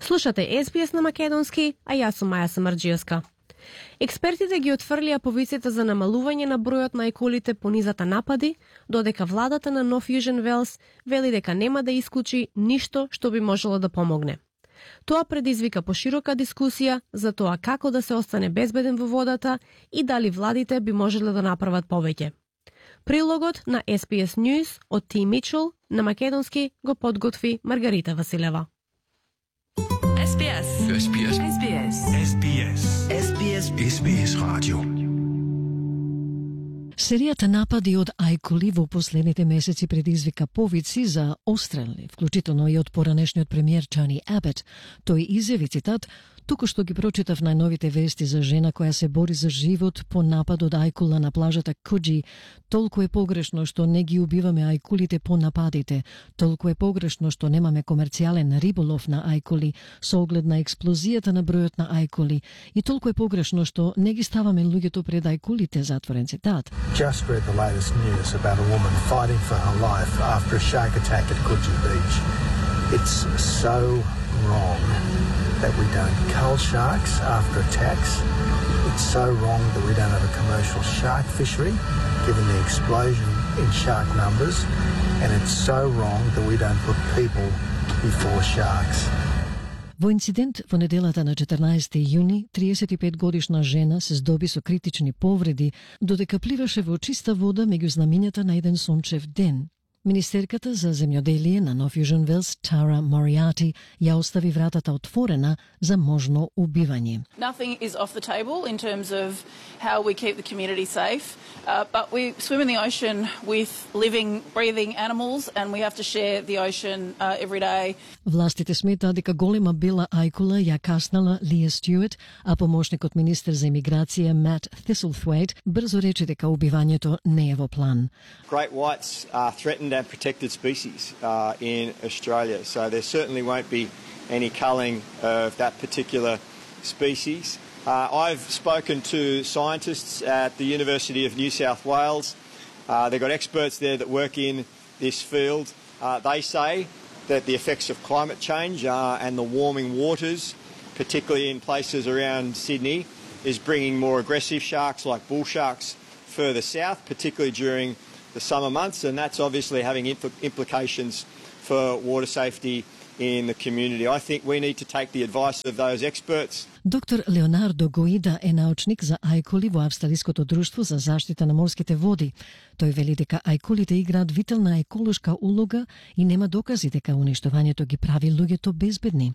Слушате СБС на македонски, а јас сум Маја Самарџиевска. Експертите ги отфрлија повиците за намалување на бројот на ајкулите по низата напади, додека владата на Нов Јужен Велс вели дека нема да исклучи ништо што би можело да помогне. Тоа предизвика поширока дискусија за тоа како да се остане безбеден во водата и дали владите би можеле да направат повеќе. Прилогот на SBS News од Ти Мичел на македонски го подготви Маргарита Василева. SBS. SBS. SBS. SBS. SBS. SBS Radio. Серијата напади од ајкули во последните месеци предизвика повици за острелни, вклучително и од поранешниот премиер Тони Абет. Тој изјави, цитат, "Токошто ги прочитав најновите вести за жена која се бори за живот по напад од ајкула на плажата Куџи. Толку е погрешно што не ги убиваме ајкулите по нападите. Толку е погрешно што немаме комерцијален риболов на ајкули со оглед на експлозијата на бројот на ајкули. И толку е погрешно што не ги ставаме луѓето пред ајкулите", затворен цитат. Just read the latest news about a woman fighting for her life after a shark attack at Coogee Beach. It's so wrong that we don't cull sharks after attacks. It's so wrong that we don't have a commercial shark fishery, given the explosion in shark numbers. And it's so wrong that we don't put people before sharks. Во инцидент во неделата на 14 јуни, 35-годишна жена се здоби со критични повреди, додека пливаше во чиста вода меѓу знамињата на еден сончев ден. Министерката за земјоделие на Нов Јужен Велс, Тара Мориати, ја остави вратата отворена за можно убивање. Nothing is off the table in terms of how we keep the community safe, but we swim in the ocean with living, breathing animals and we have to share the ocean every day. Властите сметаат дека голема бела ајкула ја каснала Лија Стюарт, а помошникот министер за имиграција Мат Thistlethwaite брзо рече дека убивањето не е во план. Great whites are threatened and protected species in Australia, so there certainly won't be any culling of that particular species. I've spoken to scientists at the University of New South Wales. They've got experts there that work in this field. They say that the effects of climate change and the warming waters, particularly in places around Sydney, is bringing more aggressive sharks like bull sharks further south, particularly during the summer months, and that's obviously having implications for water safety in the community. I think we need to take the advice of those experts. Доктор Леонардо Гоида е научник за ајкули во Австралиското друштво за заштита на морските води. Тој вели дека ајкулите играат витална еколошка улога и нема докази дека уништувањето ги прави луѓето безбедни.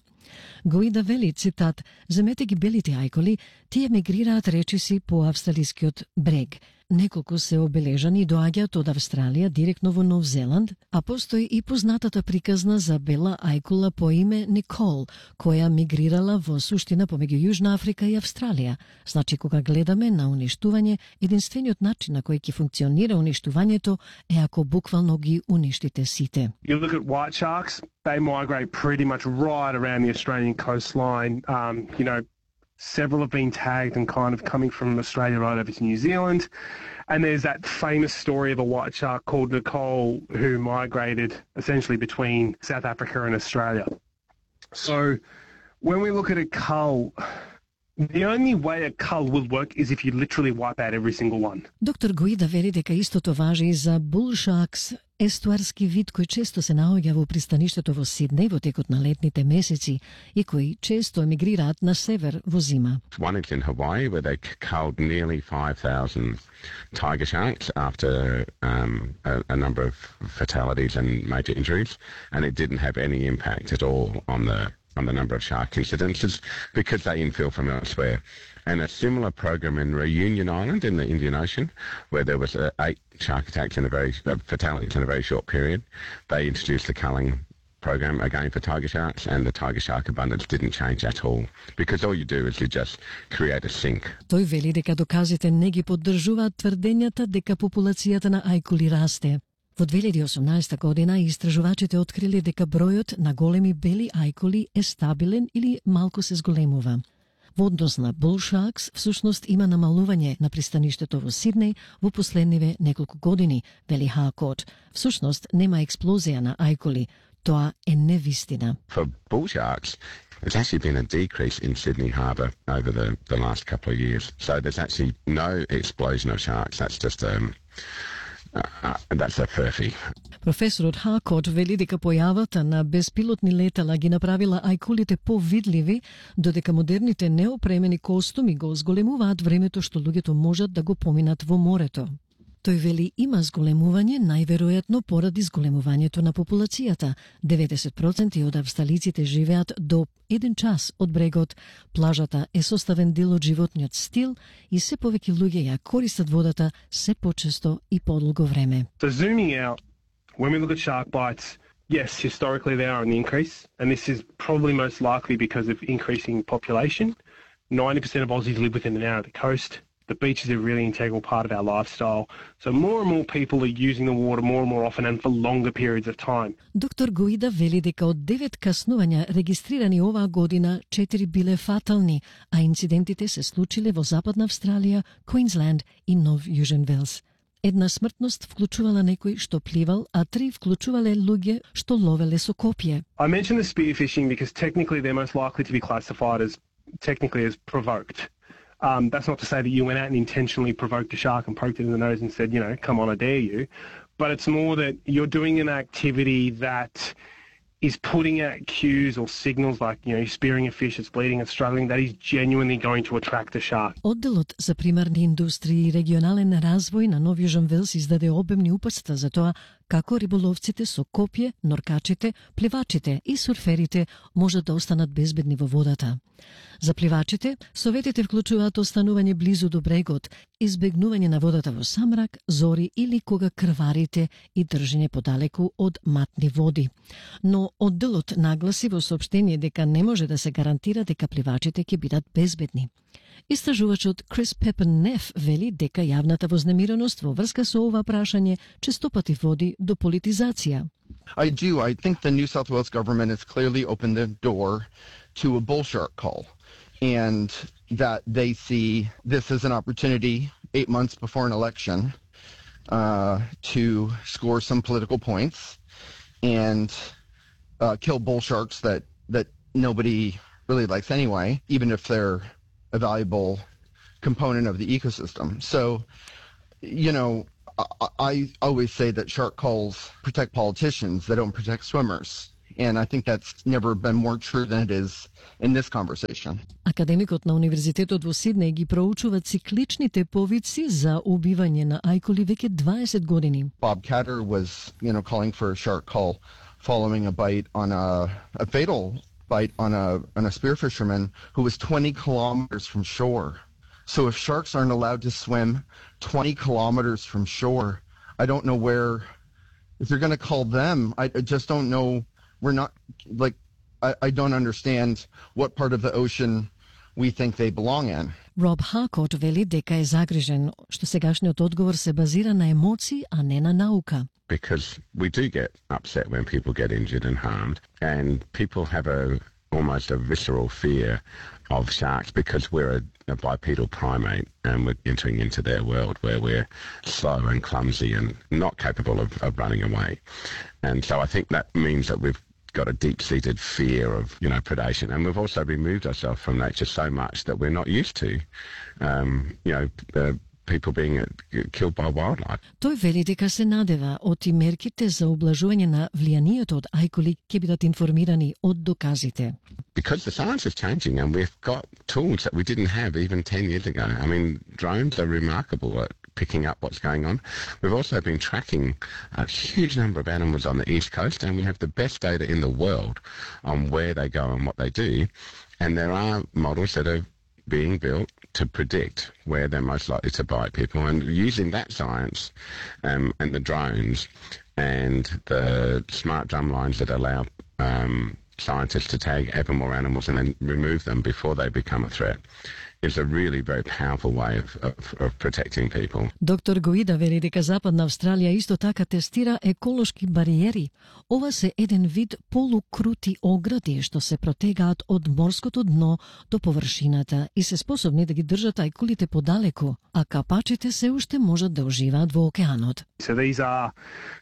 Гоида вели, цитат, "Земете ги белите ајкули, тие мигрираат речиси по австралискиот брег. Неколку се обележани и доаѓаат од Австралија директно во Нов Зеланд, а постои и познатата приказна за бела ајкула по име Никол, која мигрирала во суштина помеѓу Јужна Африка и Австралија. Значи, кога гледаме на уништување, единствениот начин на кој ќе функционира уништувањето е ако буквално ги уништите сите. You look at white sharks, they migrate pretty much right around the Australian coastline. Several have been tagged and kind of coming from Australia right over to New Zealand. And there's that famous story of a white shark called Nicole who migrated essentially between South Africa and Australia. So when we look at a cull, the only way a cull will work is if you literally wipe out every single one. Доктор Гоида вери дека истото важи и за bull sharks, естуарски вид кој често се наоѓа во пристаништето во Сиднеј во текот на летните месеци и кои често емигрираат на север во зима. One is in Hawaii where they culled nearly 5,000 tiger sharks after a number of fatalities and major injuries, and it didn't have any impact at all on the number of shark incidences because they infill from elsewhere. And a similar program in Reunion Island in the Indian Ocean, where there was 8 shark attacks and fatalities in a very short period, they introduced the culling program again for tiger sharks, and the tiger shark abundance didn't change at all because all you do is you just create a sink. Тој вели дека доказите не ги поддржуваат тврдењата дека популацијата на ајкули расте. Во 2018 година истражувачите открили дека бројот на големи бели ајкули е стабилен или малку се зголемува. Во однос на bull sharks, всушност има намалување на пристаништето во Сиднеј во последниве неколку години, вели Хакот. Всушност нема експлозија на ајкули, Тоа е невистина. For bull sharks, there's actually been a decrease in Sydney Harbour over the last couple of years. So there's actually no explosion of sharks. That's just that's a furphy. Професорот Хакот вели дека појавата на беспилотни летала ги направила ајкулите повидливи, додека модерните неопремени костуми го зголемуваат времето што луѓето можат да го поминат во морето. Тој вели има зголемување најверојатно поради зголемувањето на популацијата. 90% од австралиците живеат до 1 час од брегот. Плажата е составен дел од животниот стил и се повеќе луѓе ја користат водата се почесто и подолго време. So zooming out, when we look at shark bites, yes, historically they are on the increase, and this is probably most likely because of increasing population. 90% of Aussies live within an hour of the coast. The beach is a really integral part of our lifestyle. So more and more people are using the water more and more often and for longer periods of time. Доктор Гуида вели дека од 9 каснувања регистрирани оваа година, 4 биле фатални, а инцидентите се случиле во Западна Австралија, Квинсленд и Нов Јужен Велс. Една смртност вклучувала некој што пливал, а 3 вклучувале луѓе што ловеле со копје. I mentioned the spearfishing because technically they're most likely to be classified as provoked. That's not to say that you went out and intentionally provoked a shark and poked it in the nose and said, you know, come on, I dare you. But it's more that you're doing an activity that is putting out cues or signals like, you know, you're spearing a fish, it's bleeding, it's struggling, that is genuinely going to attract a shark. Одделот за примарни индустрии и регионален развој на Нов Јужен Велс издаде обемни упатства за тоа како риболовците со копје, норкачите, пливачите и сурферите можат да останат безбедни во водата. За пливачите, советите вклучуваат останување близу до брегот, избегнување на водата во самрак, зори или кога крварите и држење подалеку од матни води. Но одделот нагласи во соопштение дека не може да се гарантира дека пливачите ќе бидат безбедни. Истражувачот Крис Пепен-Неф вели дека јавната вознемиреност во врска со ова прашање честопати води до политизација. I do. I think the New South Wales government has clearly opened the door to a bull shark cull, and that they see this as an opportunity 8 months before an election to score some political points and kill bull sharks that nobody really likes anyway, even if they're a valuable component of the ecosystem. So, you know, I always say that shark culls protect politicians, they don't protect swimmers. And I think that's never been more true than it is in this conversation. Академикот на Универзитетот во Сиднеј ги проучува цикличните повици за убивање на ајкули веќе 20 години. Bob Catter was, you know, calling for a shark cull following a bite on a fatal bite on a spear fisherman who was 20 kilometers from shore. So if sharks aren't allowed to swim 20 kilometers from shore, I don't know where, if you're going to call them, I just don't know. We're not, like, I don't understand what part of the ocean we think they belong in. Роб Хакот вели дека е загрижен што сегашниот одговор се базира на емоции, а не на наука. Because we do get upset when people get injured and harmed, and people have almost a visceral fear of sharks because we're a bipedal primate and we're entering into their world where we're slow and clumsy and not capable of running away. And so I think that means that we've got a deep-seated fear of, you know, predation, and we've also removed ourselves from nature so much that we're not used to, people being killed by wildlife. Тој вели дека се надева од и мерките за ублажување на влијанието од ајкули ќе бидат информирани од доказите. Because the science is changing and we've got tools that we didn't have even 10 years ago. I mean, drones are remarkable at picking up what's going on. We've also been tracking a huge number of animals on the East Coast, and we have the best data in the world on where they go and what they do. And there are models that are being built to predict where they're most likely to bite people, and using that science and the drones and the smart drumlines that allow scientists to tag ever more animals and then remove them before they become a threat is a really very powerful way of protecting people. Доктор Гуида вели дека Западна Австралија исто така тестира еколошки бариери. Ова се еден вид полукрути огради што се протегаат од морското дно до површината и се способни да ги држат ајкулите подалеку, а капачите се уште можат да уживаат во океанот. So these are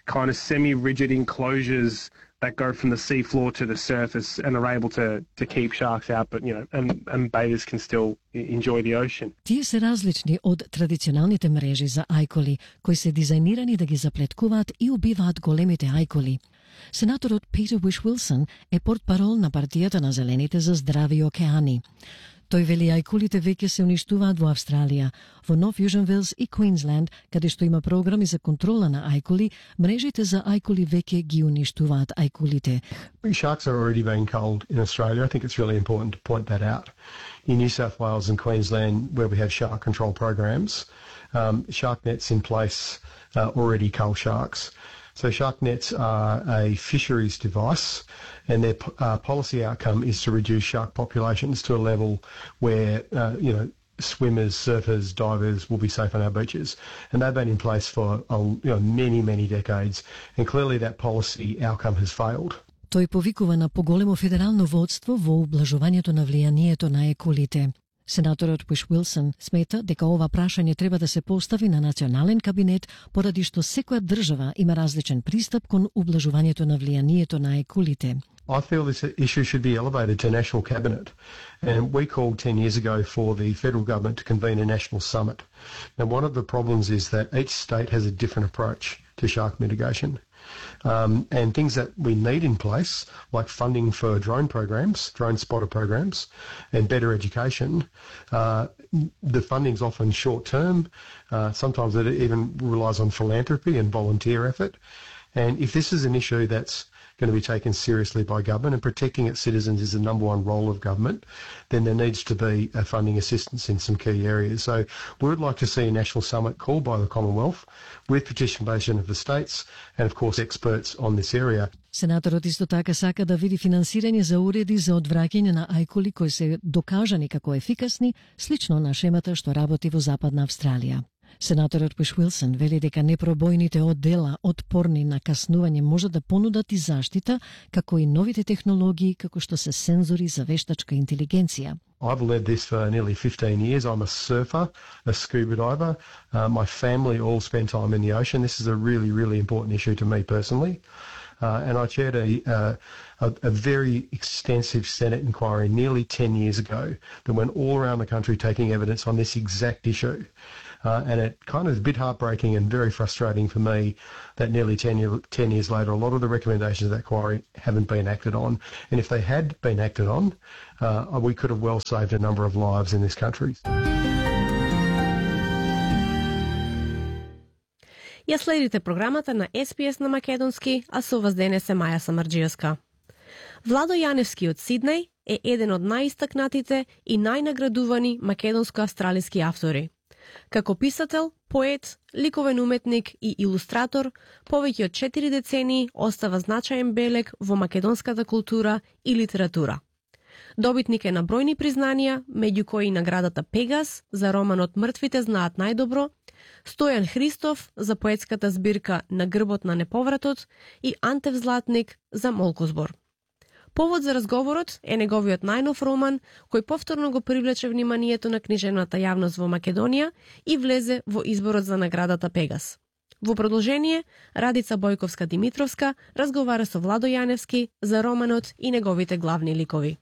kind of semi-rigid enclosures that go from the sea floor to the surface and are able to keep sharks out, but and bathers can still enjoy the ocean. Тие се различни од традиционалните мрежи за ајколи, кои се дизајнирани да ги заплеткуваат и убиваат големите ајколи. Сенаторот Питер Уиш-Уилсон е портпарол на партијата на Зелените за здрави океани. Тој вели ајкулите веќе се уништуваат во Австралија, во Нов Јужен Велс и Квинсленд, каде што има програми за контрола на ајкули, мрежите за ајкули веќе ги уништуваат ајкулите. Sharks are already being culled in Australia. I think it's really important to point that out. In New South Wales and Queensland, where we have shark control programs, shark nets in place already cull sharks. So shark nets are a fisheries device, and their policy outcome is to reduce shark populations to a level where, swimmers, surfers, divers will be safe on our beaches. And they've been in place for many, many decades, and clearly that policy outcome has failed. Тој повикува на поголемо федерално водство во ублажувањето на влијанието на еколите. Сенаторот Уиш-Уилсон смета дека ова прашање треба да се постави на национален кабинет поради што секоја држава има различен пристап кон ублажувањето на влијанието на еколите. I feel this issue should be elevated to national cabinet, and we called 10 years ago for the federal government to convene a national summit. Now, one of the problems is that each state has a different approach to shark mitigation. And things that we need in place, like funding for drone spotter programs, and better education, the funding's often short-term. Sometimes it even relies on philanthropy and volunteer effort. And if this is an issue that's going to be taken seriously by government, and protecting its citizens is the number one role of government, then there needs to be a funding assistance in some key areas. So we would like to see a national summit called by the Commonwealth with participation of the states and, of course, experts on this area. Сенаторот исто така сака да види финансирање за уреди за одвраќање на ајкули кои се докажани како ефикасни, слично на шемата што работи во Западна Австралија. Сенаторот Уиш-Уилсон вели дека непробојните оддела отпорни на каснување може да понудат и заштита, како и новите технологии, како што се сензори за вештачка интелигенција. I've led this for nearly 15 years. I'm a surfer, a scuba diver. My family all spend time in the ocean. This is a really, really important issue to me personally. And I chaired a very extensive Senate inquiry nearly 10 years ago that went all around the country taking evidence on this exact issue. And it kind of is a bit heartbreaking and very frustrating for me that nearly 10 years later, a lot of the recommendations of that inquiry haven't been acted on. And if they had been acted on, we could have well saved a number of lives in this country. Ја следите програмата на SPS на македонски, а со вас денес е Маја Самарџиевска. Владо Јаневски од Сиднеј е еден од најистакнатите и најнаградувани македонско-австралиски автори. Како писател, поет, ликовен уметник и илустратор, повеќе од 4 децении остава значаен белег во македонската култура и литература. Добитник е на бројни признанија, меѓу кои наградата Пегас за романот Мртвите знаат најдобро, Стојан Христов за поетската збирка На грбот на неповратот и Антев Златник за Молкозбор. Повод за разговорот е неговиот најнов роман, кој повторно го привлече вниманието на книжевната јавност во Македонија и влезе во изборот за наградата Пегас. Во продолжение, Радица Бојковска-Димитровска разговара со Владо Јаневски за романот и неговите главни ликови.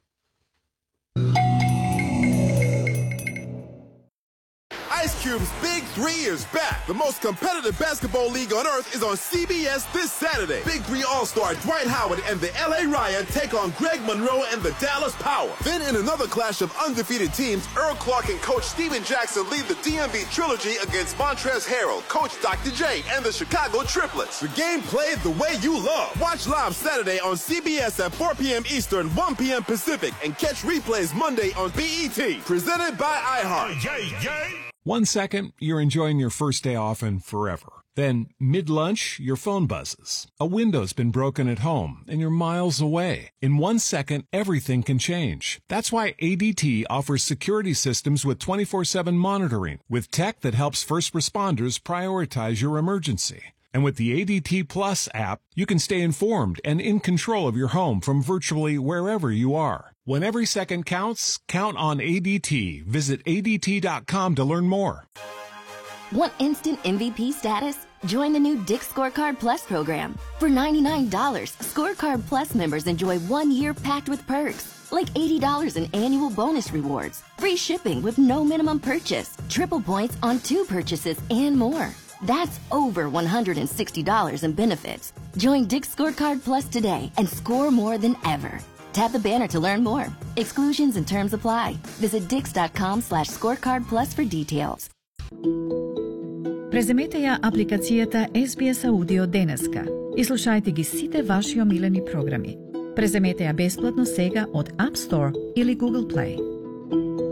Ice Cube's Big 3 is back. The most competitive basketball league on earth is on CBS this Saturday. Big 3 All-Star Dwight Howard and the LA Ryan take on Greg Monroe and the Dallas Power. Then in another clash of undefeated teams, Earl Clark and Coach Steven Jackson lead the DMV Trilogy against Montrezl Harrell, Coach Dr. J, and the Chicago Triplets. The game played the way you love. Watch live Saturday on CBS at 4 p.m. Eastern, 1 p.m. Pacific, and catch replays Monday on BET. Presented by iHeart. One second, you're enjoying your first day off and forever. Then, mid-lunch, your phone buzzes. A window's been broken at home and you're miles away. In 1 second, everything can change. That's why ADT offers security systems with 24/7 monitoring, with tech that helps first responders prioritize your emergency. And with the ADT Plus app, you can stay informed and in control of your home from virtually wherever you are. When every second counts, count on ADT. Visit ADT.com to learn more. Want instant MVP status? Join the new Dick's Scorecard Plus program. For $99, Scorecard Plus members enjoy 1 year packed with perks, like $80 in annual bonus rewards, free shipping with no minimum purchase, triple points on 2 purchases, and more. That's over $160 in benefits. Join Dick's Scorecard Plus today and score more than ever. Tap the banner to learn more. Exclusions and terms apply. Visit dix.com/scorecardplus for details. Преземете ја апликацијата SBS Audio денеска и слушајте ги сите ваши омилени програми. Преземете ја бесплатно сега од App Store или Google Play.